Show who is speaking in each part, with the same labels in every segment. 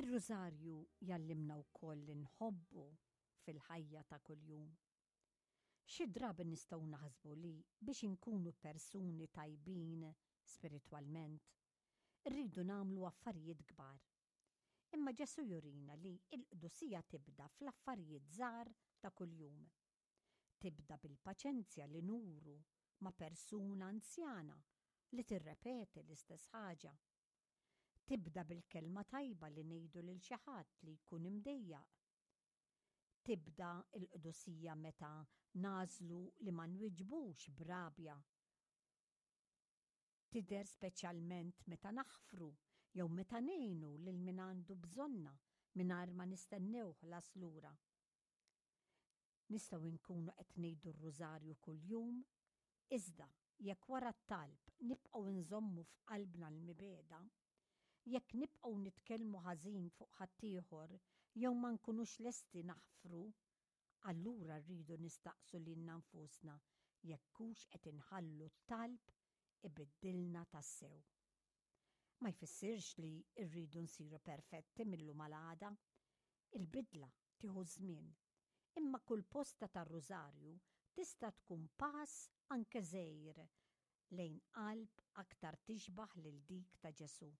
Speaker 1: Ir-Rużarju jgħallimna wkoll li nħobbu fil-ħajja ta' kuljum. Xi drabi nistgħu naħsbu li biex inkunu persuni tajbin spiritwalment, irridu nagħmlu affarijiet kbar. Imma Ġesù jurina li l-qdusija tibda fl-affarijiet żgħar ta' kuljum. Tibda bil-paċenzja li nuru ma' persuna anzjana li tirrepeti l-istess ħaġa. Tibda bil-kelma tajba li ngħidu lil xi ħadd li jkun imdejjaq. Tibda l-qdusija meta nagħżlu li ma nwieġbux b'rabja. Tidher speċjalment meta naħfru jew meta ngħinu lil min għandu bżonna mingħajr ma nistennew ħlas lura. Nistgħu nkunu qed ngħidu r-Rużarju kuljum, iżda jekk wara t-talb nibqgħu nżommu f'qalbna l-mibegħda, jekk nibqgħu nitkellmu ħażin fuq ħaddieħor jew ma nkunux lesti naħfru, Allura rridu nistaqsu lilna nfusna jekk hux qed inħallu t-talb ibiddilna tassew. Ma jfissirx li rridu nsiru perfetti mil-lum għal għada. Il-bidla tieħu ż-żmien. Imma kull posta tar-Rużarju tista' tkun pass anke żgħir lejn qalb aktar tixbah lil dik ta' Ġesù.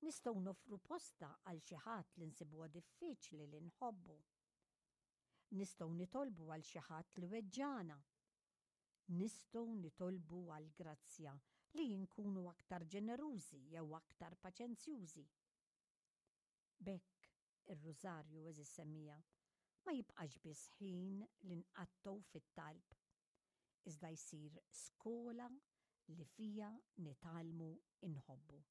Speaker 1: Nistgħu noffru posta għal xi ħadd li nsibuha diffiċli li nħobbu. Nistgħu nitolbu għal xi ħadd li weġġagħna. Nistgħu nitolbu għall-grazzja li nkunu aktar ġenerużi jew aktar paċenzjużi. B'hekk, ir-Rużarju, għeżież semmiegħa, ma jibqax biss ħin li nqattgħu fit-talb, iżda jsir skola li fiha nitgħallmu nħobbu.